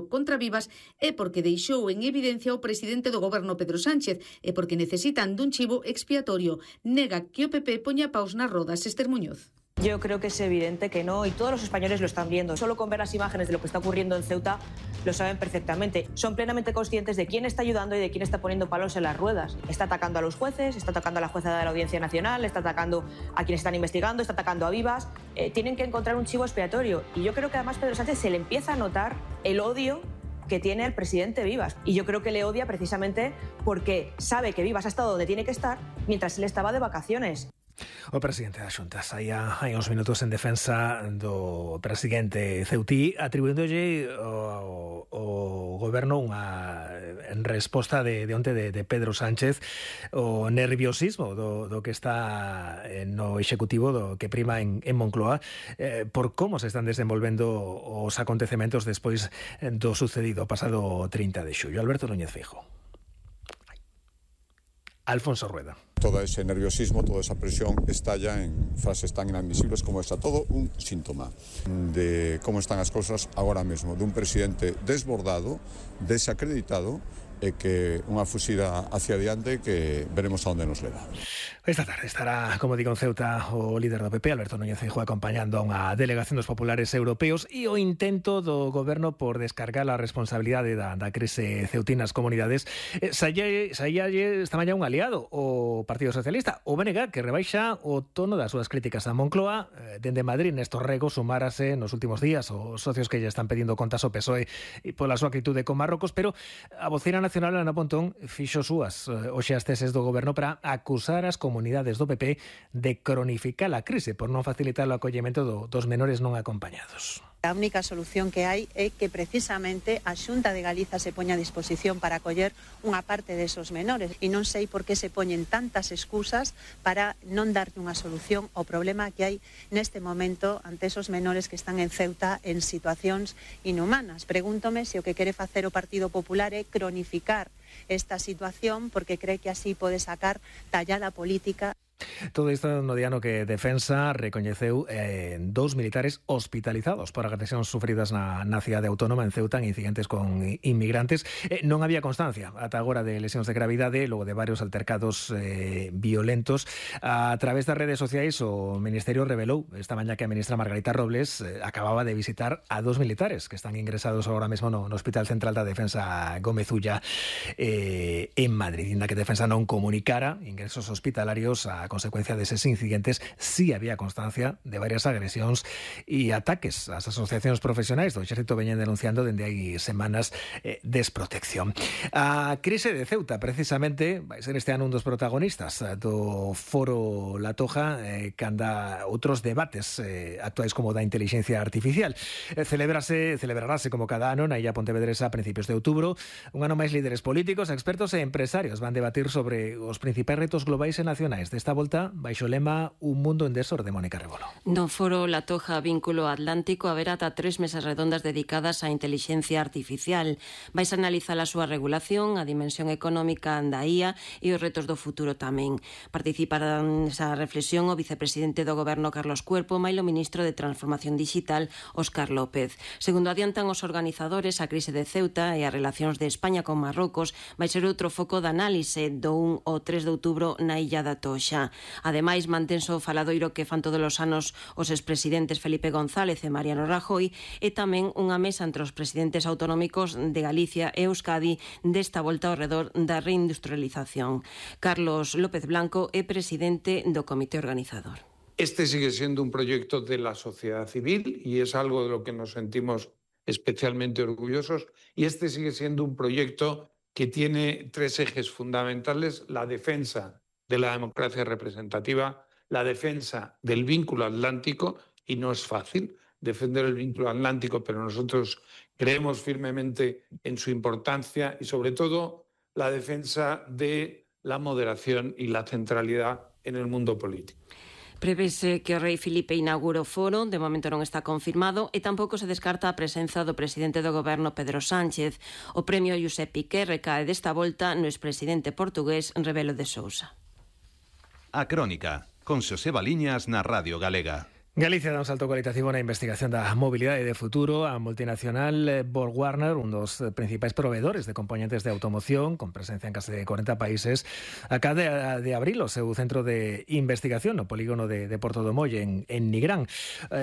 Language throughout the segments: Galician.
contra Vivas é porque deixou en evidencia o presidente do goberno Pedro Sánchez e porque necesitan dun chivo expiatorio. Nega que o PP poña paus nas rodas. Esther Muñoz. Yo creo que es evidente que no, y todos los españoles lo están viendo. Solo con ver las imágenes de lo que está ocurriendo en Ceuta lo saben perfectamente. Son plenamente conscientes de quién está ayudando y de quién está poniendo palos en las ruedas. Está atacando a los jueces, está atacando a la jueza de la Audiencia Nacional, está atacando a quienes están investigando, está atacando a Vivas. Tienen que encontrar un chivo expiatorio. Y yo creo que además Pedro Sánchez se le empieza a notar el odio que tiene el presidente Vivas. Y yo creo que le odia precisamente porque sabe que Vivas ha estado donde tiene que estar mientras él estaba de vacaciones. O presidente da Xunta saía hai uns minutos en defensa do presidente ceutí, atribuíndolle o goberno unha resposta de onte de Pedro Sánchez o nerviosismo do que está no executivo do que prima en Moncloa por como se están desenvolvendo os acontecementos despois do sucedido pasado 30 de xullo. Alberto Núñez Feijóo. Alfonso Rueda. Todo ese nerviosismo, toda esa presión estalla en frases tan inadmisibles como esta. Todo un síntoma de cómo están as cousas agora mesmo, dun presidente desbordado, desacreditado e que unha fuxida hacia adiante que veremos a onde nos leva. Esta tarde estará, como digo, en Ceuta o líder do PP, Alberto Núñez Feijóo, acompañando a unha delegación dos populares europeos e o intento do goberno por descargar a responsabilidade da crise ceutina nas comunidades. Saía esta mañá un aliado, o Partido Socialista, o BNG, que rebaixa o tono das súas críticas a Moncloa. Dende Madrid, Néstor Rego sumárase nos últimos días os socios que lle están pedindo contas ao PSOE e pola súa actitude con Marrocos, pero a vocera nacional Ana Pontón fixo súas hoxe as teses do goberno para acusar as comunidades do PP de cronificar a crise por non facilitar o acollemento dos menores non acompañados. A única solución que hai é que precisamente a Xunta de Galiza se poña a disposición para acoller unha parte desos menores e non sei por que se poñen tantas excusas para non darlle unha solución ao problema que hai neste momento ante esos menores que están en Ceuta en situacións inhumanas. Pregúntome se o que quere facer o Partido Popular é cronificar esta situación porque cree que así pode sacar tallada política. Todo isto no día no que Defensa recoñeceu 2 militares hospitalizados por agresións sufridas na cidade autónoma en Ceuta en incidentes con inmigrantes. Non había constancia ata agora de lesións de gravidade logo de varios altercados violentos. A través das redes sociais o Ministerio revelou esta mañá que a ministra Margarita Robles acababa de visitar a 2 militares que están ingresados agora mesmo no Hospital Central da Defensa Gómez Ulla en Madrid. Inda que Defensa non comunicara ingresos hospitalarios a consecuencia deses incidentes, sí había constancia de varias agresións e ataques ás asociacións profesionais do Exército veñen denunciando dende hai semanas desprotección. A crise de Ceuta, precisamente, vai ser este ano un dos protagonistas do Foro La Toja, canda outros debates actuais como da inteligencia artificial. Celebrarase como cada ano na Illa Pontevedresa a principios de outubro. Un ano máis líderes políticos, expertos e empresarios van debatir sobre os principais retos globais e nacionais desta volta baixo o lema Un mundo en desorde, Mónica Rebolo. No Foro La Toja Vínculo Atlántico haberá ata 3 mesas redondas dedicadas á inteligencia artificial. Vais a analizar a súa regulación, a dimensión económica da IA e os retos do futuro tamén. Participarán nesa reflexión o vicepresidente do Goberno Carlos Cuerpo, e o ministro de Transformación Digital Óscar López. Segundo adiantan os organizadores, a crise de Ceuta e as relacións de España con Marrocos vai ser outro foco de análise do 1 ao 3 de outubro na Illa da Toxa. Ademais, mantense o faladoiro que fan todos os anos os expresidentes Felipe González e Mariano Rajoy e tamén unha mesa entre os presidentes autonómicos de Galicia e Euskadi desta volta ao redor da reindustrialización. Carlos López Blanco é presidente do comité organizador. Este sigue siendo un proyecto de la sociedad civil y es algo de lo que nos sentimos especialmente orgullosos, y este sigue siendo un proyecto que tiene 3 ejes fundamentales: la defensa de la democracia representativa, la defensa del vínculo atlántico, y no es fácil defender el vínculo atlántico, pero nosotros creemos firmemente en su importancia, y sobre todo la defensa de la moderación y la centralidad en el mundo político. Prevese que o rei Filipe inaugure o foro, de momento non está confirmado, e tampouco se descarta a presenza do presidente do goberno Pedro Sánchez. O premio Josep Piqué recae desta volta no expresidente portugués Rebelo de Sousa. A Crónica, con Xosé Baliñas na Radio Galega. Galicia dá un salto cualitativo na investigación da mobilidade de futuro. A multinacional BorgWarner, un dos principais proveedores de componentes de automoción, con presencia en case 40 países, acaba de abrir o seu centro de investigación no polígono de Porto do Molle, en Nigrán.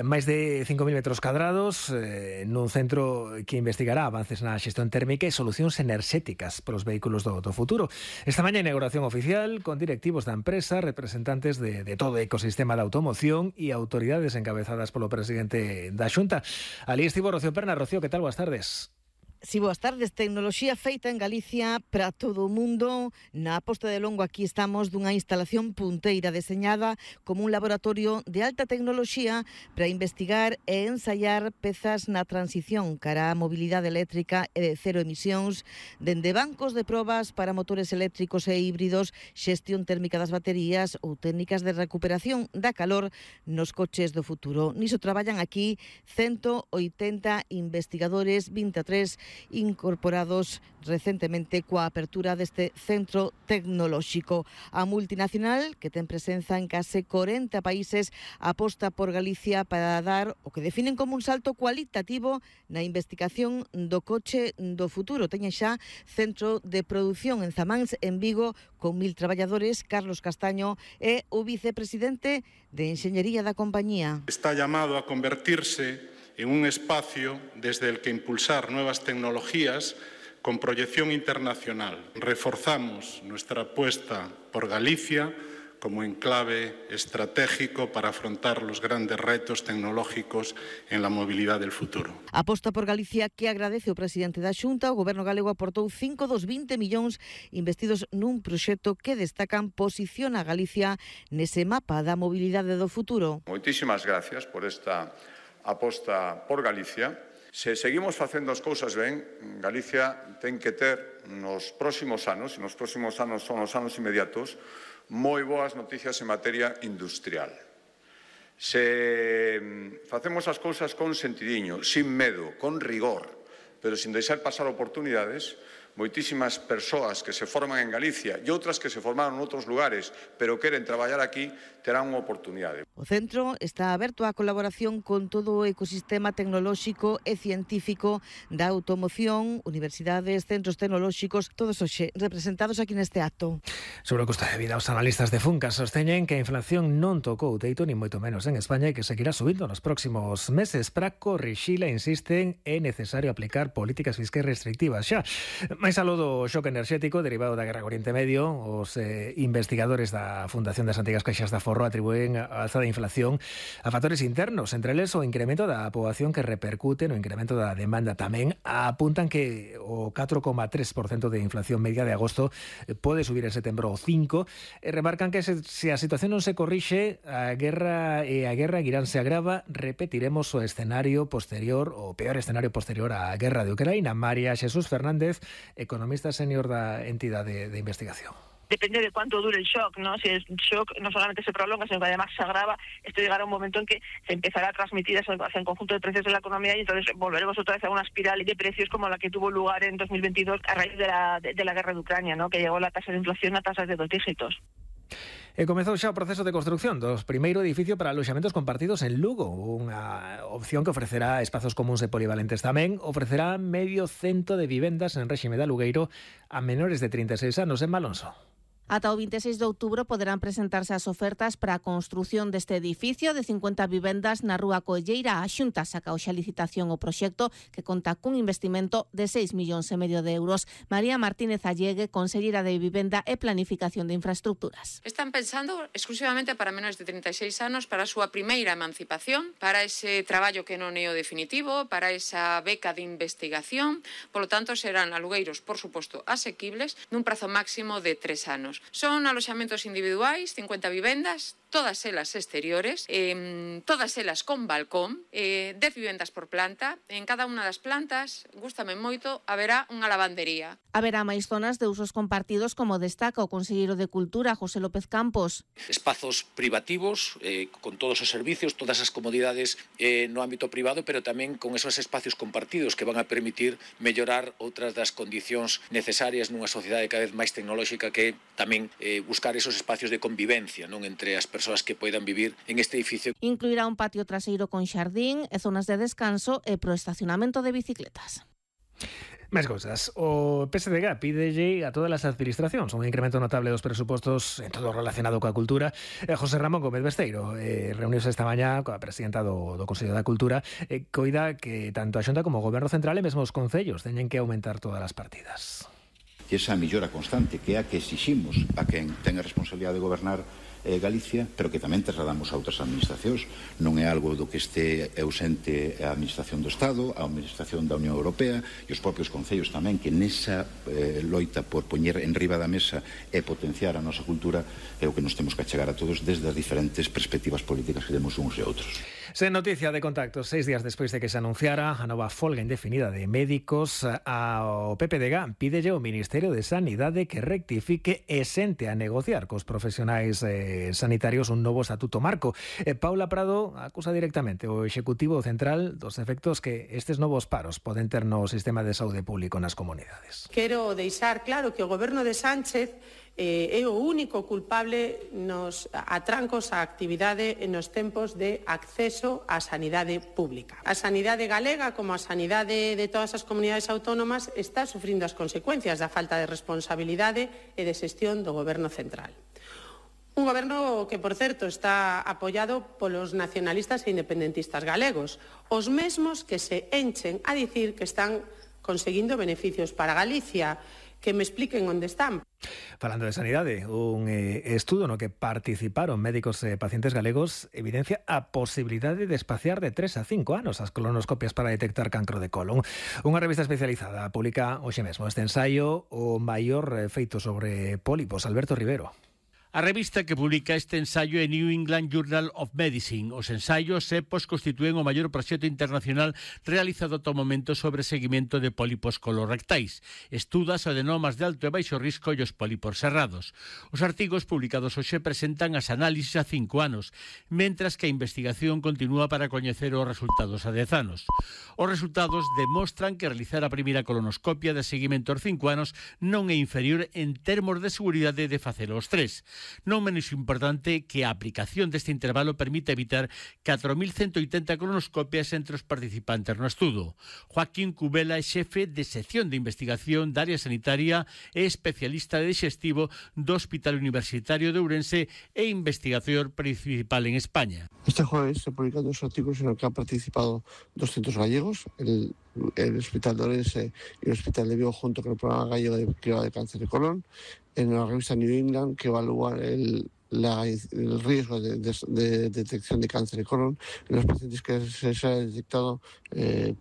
Máis de 5.000 metros cadrados, nun centro que investigará avances na xestión térmica e solucións enerxéticas para os vehículos do futuro. Esta mañá inauguración oficial con directivos da empresa, representantes de todo o ecosistema da automoción e autoridades encabezadas polo presidente da Xunta. Ali estivo Rocío Perna. Rocío, que tal? Boas tardes. Si, boas tardes. Tecnoloxía feita en Galicia para todo o mundo. Na Posta de Longo aquí estamos dunha instalación punteira deseñada como un laboratorio de alta tecnoloxía para investigar e ensaiar pezas na transición cara á mobilidade eléctrica e de cero emisións, dende bancos de probas para motores eléctricos e híbridos, xestión térmica das baterías ou técnicas de recuperación da calor nos coches do futuro. Niso traballan aquí 180 investigadores, 23 incorporados recentemente coa apertura deste centro tecnolóxico. A multinacional, que ten presenza en case 40 países, aposta por Galicia para dar o que definen como un salto cualitativo na investigación do coche do futuro. Teñen xa centro de produción en Zamáns, en Vigo, con 1.000 traballadores. Carlos Castaño é o vicepresidente de Enxeñería da compañía. Está llamado a convertirse en un espacio desde el que impulsar nuevas tecnologías con proyección internacional. Reforzamos nuestra apuesta por Galicia como enclave estratégico para afrontar los grandes retos tecnológicos en la movilidad del futuro. Aposta por Galicia que agradece o presidente da Xunta. O Goberno galego aportou 5 dos 20 millóns investidos nun proxecto que destacan posiciona a Galicia nese mapa da mobilidade do futuro. Moitísimas gracias por esta aposta por Galicia. Se seguimos facendo as cousas ben, Galicia ten que ter nos próximos anos, e nos próximos anos son os anos inmediatos, moi boas noticias en materia industrial. Se facemos as cousas con sentidiño, sin medo, con rigor, pero sin deixar pasar oportunidades, moitísimas persoas que se forman en Galicia e outras que se formaron en outros lugares, pero queren traballar aquí, terán unha oportunidade. O centro está aberto á colaboración con todo o ecosistema tecnolóxico e científico da automoción, universidades, centros tecnolóxicos, todos hoxe representados aquí neste acto. Sobre o custo de vida, os analistas de Funca sosteñen que a inflación non tocou o teito, ni moito menos en España, e que seguirá subindo nos próximos meses. Para corrixila, insisten, é necesario aplicar políticas fiscais restrictivas xa. Mais aló do xoque enerxético derivado da guerra co Oriente Medio, os investigadores da Fundación das Antigas Caixas da Forro atribúen a alza da inflación a factores internos, entre eles o incremento da poboación que repercute no incremento da demanda. Tamén apuntan que o 4,3% de inflación media de agosto pode subir en setembro o 5%, e remarcan que se a situación non se corrixe, a guerra Irán se agrava, repetiremos o escenario posterior, o peor escenario posterior á guerra de Ucraína. María Xesús Fernández, economista senior da entidade de investigación. Depende de cuánto dure el shock, ¿no? Si el shock no solamente se prolonga, sino que además se agrava, esto llegará a un momento en que se empezará a transmitir hacia el conjunto de precios de la economía, y entonces volveremos otra vez a una espiral de precios como la que tuvo lugar en 2022 a raíz de la guerra de Ucrania, ¿no? Que llegó la tasa de inflación a tasas de 2 dígitos. E comezou xa o proceso de construción do primeiro edificio para aloxamentos compartidos en Lugo, unha opción que ofrecerá espazos comuns e polivalentes. Tamén ofrecerá 100 de vivendas en réxime de alugueiro a menores de 36 anos. En Malonso. Ata o 26 de outubro poderán presentarse as ofertas para a construción deste edificio de 50 vivendas na Rúa Colleira. A Xunta saca hoxe a licitación o proxecto, que conta cun investimento de 6,5 millóns de euros. María Martínez Allegue, conselleira de Vivenda e Planificación de Infraestructuras. Están pensando exclusivamente para menores de 36 anos, para a súa primeira emancipación, para ese traballo que non é o definitivo, para esa beca de investigación. Polo tanto, serán alugueiros, por suposto, asequibles, nun prazo máximo de 3 anos. Son aloxamentos individuais, 50 vivendas, todas elas exteriores, todas elas con balcón, 10 vivendas por planta. En cada unha das plantas, gústame moito, haberá unha lavandería. Haberá máis zonas de usos compartidos, como destaca o conselleiro de Cultura, José López Campos. Espazos privativos, con todos os servicios, todas as comodidades no ámbito privado, pero tamén con esos espacios compartidos que van a permitir mellorar outras das condicións necesarias nunha sociedade cada vez máis tecnolóxica, que tamén buscar esos espacios de convivencia, non, entre as persoas persoas que poidan vivir en este edificio. Incluirá un patio traseiro con xardín e zonas de descanso e pro estacionamento de bicicletas. Máis cousas. O PSDG pídelle a todas as administracións un incremento notable dos presupostos en todo relacionado coa cultura. José Ramón Gómez Besteiro reuniuse esta mañá coa presidenta do Consello da Cultura, coida que tanto a Xunta como o Goberno Central e mesmo os concellos teñen que aumentar todas as partidas. E esa mellora constante que é a que exiximos a quen ten a responsabilidade de gobernar Galicia, pero que tamén trasladamos a outras administracións. Non é algo do que este ausente a Administración do Estado, a Administración da Unión Europea e os propios concellos tamén, que nesa loita por poñer en riba da mesa e potenciar a nosa cultura é o que nos temos que achegar a todos desde as diferentes perspectivas políticas que temos uns e outros. Sen noticia de contactos, 6 días despois de que se anunciara a nova folga indefinida de médicos, ao PPDG pídelle ao Ministerio de Sanidade que rectifique e sente a negociar cos profesionais sanitarios un novo estatuto marco. Paula Prado acusa directamente o Executivo Central dos efectos que estes novos paros poden ter no sistema de saúde público nas comunidades. Quero deixar claro que o Goberno de Sánchez é o único culpable nos atrancos á actividade nos tempos de acceso á sanidade pública. A sanidade galega, como a sanidade de todas as comunidades autónomas, está sufrindo as consecuencias da falta de responsabilidade e de xestión do Goberno Central. Un goberno que, por certo, está apoiado polos nacionalistas e independentistas galegos, os mesmos que se enchen a dicir que están conseguindo beneficios para Galicia, que me expliquen onde están. Falando de sanidade, un estudo no que participaron médicos e pacientes galegos evidencia a posibilidade de espaciar de 3 a 5 anos as colonoscopias para detectar cancro de colon. Unha revista especializada publica hoxe mesmo este ensaio, o maior feito sobre pólipos. Alberto Rivero. A revista que publica este ensaio é New England Journal of Medicine. Os ensaios EPOS constitúen o maior proxecto internacional realizado ata o momento sobre seguimento de pólipos colorectais. Estuda os adenomas de alto e baixo risco e os pólipos cerrados. Os artigos publicados hoxe presentan as análisis a 5 anos, mentras que a investigación continúa para coñecer os resultados a 10 anos. Os resultados demostran que realizar a primeira colonoscopia de seguimento aos 5 anos non é inferior en termos de seguridade de facelo aos 3. Non menos importante que a aplicación deste intervalo permite evitar 4.180 colonoscopias entre os participantes no estudo. Joaquín Cubela é xefe de sección de investigación da área sanitaria e especialista de digestivo do Hospital Universitario de Ourense e investigador principal en España. Este jueves se publican 2 artículos en los que han participado 200 gallegos, el Hospital de Ourense y el Hospital de Vigo, junto con el Programa Gallego de Cribado de Cáncer de Colon, en la revista New England, que evalúa el riesgo de detección de cáncer de colon en los pacientes que se ha detectado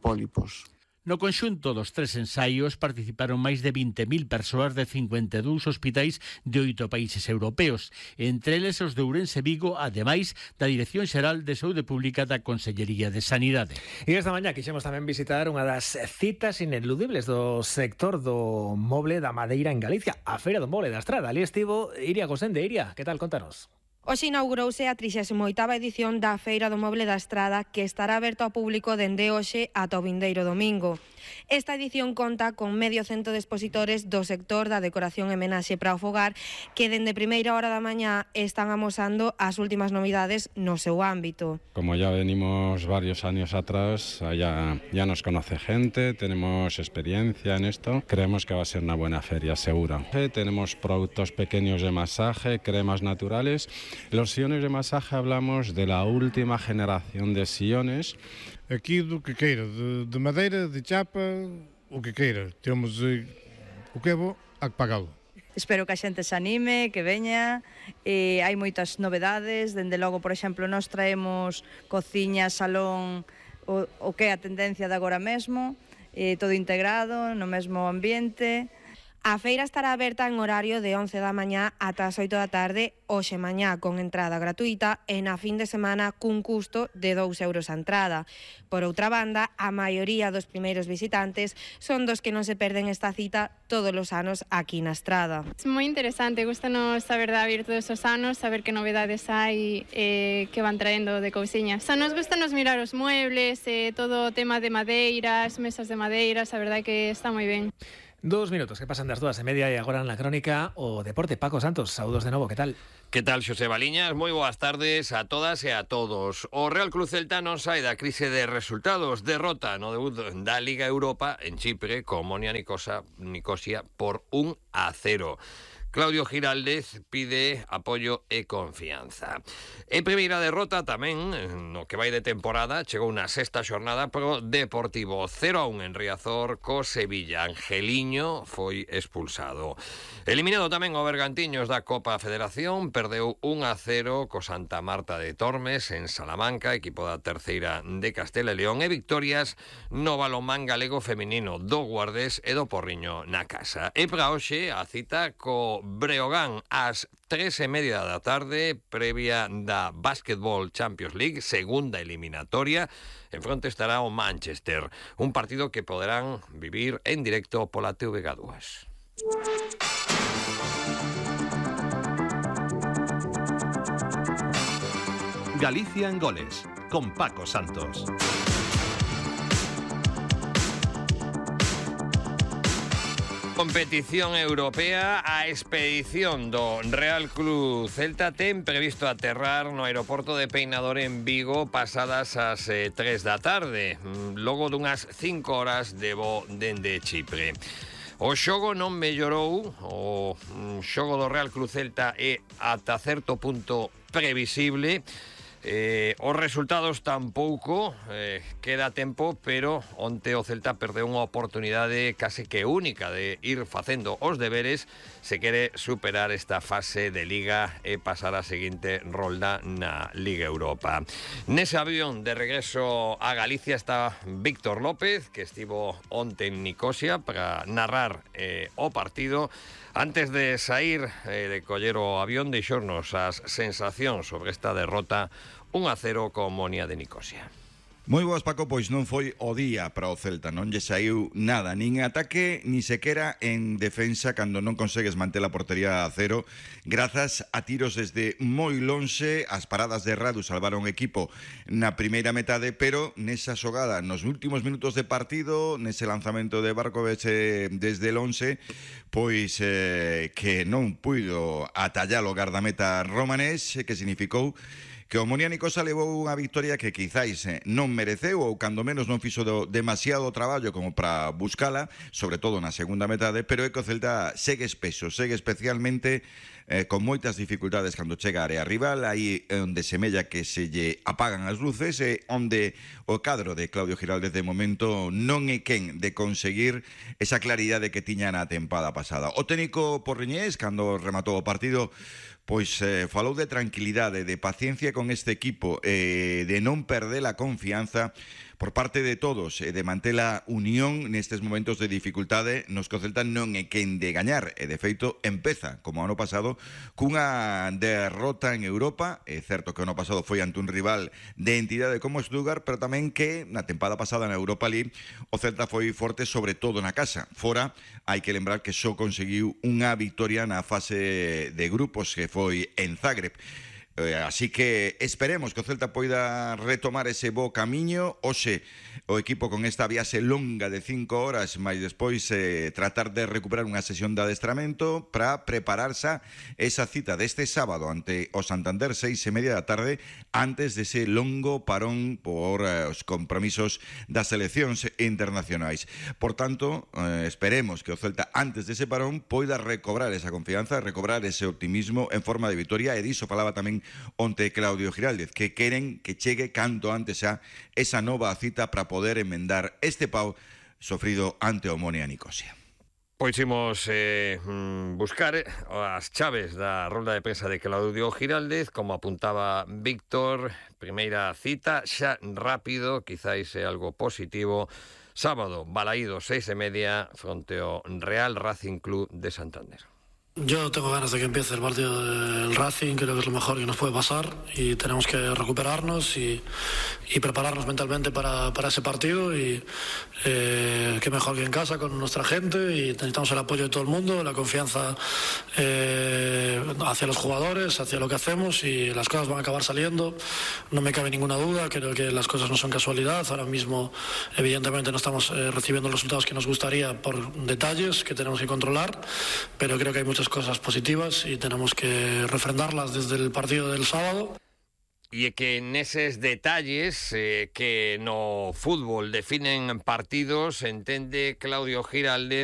pólipos. No conxunto dos 3 ensaios participaron máis de 20.000 persoas de 52 hospitais de 8 países europeos, entre eles os de Ourense Vigo, ademais da Dirección Xeral de Saúde Pública da Consellería de Sanidade. E esta mañá quixemos tamén visitar unha das citas ineludibles do sector do moble da madeira en Galicia, a Feira do Moble da Estrada. Ali estivo Iria Gosende. Iria, que tal? Contanos. Hoxe inaugurouse a 38ª edición da Feira do Moble da Estrada, que estará aberto ao público dende hoxe ata o vindeiro domingo. Esta edición conta con medio cento de expositores do sector da decoración e menaxe para o fogar, que dende primeira hora da mañá están amosando as últimas novidades no seu ámbito. Como ya venimos varios años atrás, ya nos conoce gente, tenemos experiencia en esto, creemos que va a ser una buena feria, seguro. Tenemos productos pequeños de masaje, cremas naturales. Los sillones de masaje hablamos de la última generación de sillones. Aquí do que queira, de madeira, de chapa, o que queira. Temos o que é bo, a que pagalo. Espero que a xente se anime, que veña, hai moitas novedades, dende logo, por exemplo, nós traemos cociña, salón, o que é a tendencia de agora mesmo, todo integrado, no mesmo ambiente. A feira estará aberta en horario de 11 da mañá ata as 8 da tarde hoxe mañá, con entrada gratuita, e na fin de semana cun custo de 2 euros a entrada. Por outra banda, a maioría dos primeiros visitantes son dos que non se perden esta cita todos os anos aquí na Estrada. É moi interesante, gustanos saber da vir todos os anos, saber que novedades hai que van traendo de cousiñas. Nos gustanos mirar os muebles, todo o tema de madeiras, mesas de madeiras, a verdade que está moi ben. 2 minutos que pasan das 2:30 e agora na crónica o deporte. Paco Santos, saúdos de novo, que tal? Que tal, Xosé Baliñas? Moi boas tardes a todas e a todos. O Real Club Celta non sai da crise de resultados. Derrota no debut da Liga Europa en Chipre con Omonia Nicosia por 1-0. Claudio Giraldez pide apoio e confianza. En primeira derrota tamén, no que vai de temporada, chegou na sexta xornada pro Deportivo 0-1 en Riazor co Sevilla. Angeliño foi expulsado. Eliminado tamén o Bergantiños da Copa Federación, perdeu 1-0 co Santa Marta de Tormes en Salamanca, equipo da terceira de Castela e León, e victorias no balonmán galego feminino do Guardés e do Porriño na casa. E para hoxe a cita co Breogán ás 3:30 da tarde, previa da Basketball Champions League, segunda eliminatoria. En fronte estará o Manchester, un partido que poderán vivir en directo pola TVG2. Galicia en goles, con Paco Santos. Competición europea. A expedición do Real Club Celta ten previsto aterrar no aeroporto de Peinador en Vigo pasadas as 3 da tarde, logo dunhas 5 horas de voo dende Chipre. O xogo non mellorou, o xogo do Real Club Celta é ata certo punto previsible. Os resultados tampouco, queda tempo, pero onte o Celta perdeu unha oportunidade case que única de ir facendo os deberes se quere superar esta fase de Liga e pasar a seguinte rolda na Liga Europa. Nese avión de regreso a Galicia está Víctor López, que estivo onte en Nicosia para narrar o partido. Antes de sair de coller o avión, deixornos as sensacións sobre esta derrota 1-0 con Omonia de Nicosia. Moi boas, Paco, pois non foi o día para o Celta, non lle saiu nada, nin ataque, ni sequera en defensa, cando non consegues manter a portería a cero, grazas a tiros desde moi lonxe. As paradas de Radu salvaron o equipo na primeira metade, pero nesa xogada, nos últimos minutos de partido, nese lanzamento de Barkovec desde el 11, pois que non puido atallar o gardameta romanés, que significou que o Omonia Nicosia levou unha victoria que quizáis non mereceu, ou cando menos non fixo demasiado traballo como para buscala, sobre todo na segunda metade, pero é que o Celta segue espeso, segue especialmente con moitas dificultades cando chega a área rival, aí onde semella que se lle apagan as luces, e onde o cadro de Claudio Giraldez de momento non é quen de conseguir esa claridade que tiña na tempada pasada. O técnico porriñés, cando rematou o partido, pois falou de tranquilidade, de paciencia con este equipo, de non perder a confianza por parte de todos, de manter a unión nestes momentos de dificultade nos que o Celta non é quen de gañar, e de feito empeza, como ano pasado, cunha derrota en Europa. É certo que o ano pasado foi ante un rival de entidade como Stuttgart, pero tamén que na tempada pasada na Europa League o Celta foi forte sobre todo na casa. Fora, hai que lembrar que só conseguiu unha victoria na fase de grupos, que foi en Zagreb. Así que esperemos que o Celta poida retomar ese bo camiño. Oxe, o equipo con esta viaxe longa de 5 horas, máis despois tratar de recuperar unha sesión de adestramento para prepararse esa cita deste sábado ante o Santander 6:30 da tarde, antes dese longo parón por os compromisos das seleccións internacionais. Por tanto, esperemos que o Celta antes dese parón poida recobrar esa confianza, recobrar ese optimismo en forma de victoria, e diso falaba tamén onte Claudio Giraldez, que queren que chegue canto antes a esa nova cita para poder enmendar este pau sofrido ante o Omonia Nicosia. Pois imos buscar as chaves da rolda de prensa de Claudio Giraldez, como apuntaba Víctor. Primeira cita, xa rápido, quizáis é algo positivo. Sábado, Balaído, 6:30, fronte ao Real Racing Club de Santander. Yo tengo ganas de que empiece el partido del Racing, creo que es lo mejor que nos puede pasar y tenemos que recuperarnos y prepararnos mentalmente para ese partido y qué mejor que en casa con nuestra gente y necesitamos el apoyo de todo el mundo, la confianza hacia los jugadores, hacia lo que hacemos y las cosas van a acabar saliendo, no me cabe ninguna duda, creo que las cosas no son casualidad, ahora mismo evidentemente no estamos recibiendo los resultados que nos gustaría por detalles que tenemos que controlar, pero creo que hay muchas cosas positivas y tenemos que refrendarlas desde el partido del sábado. E que neses detalles que no fútbol definen partidos entende Claudio Giraldez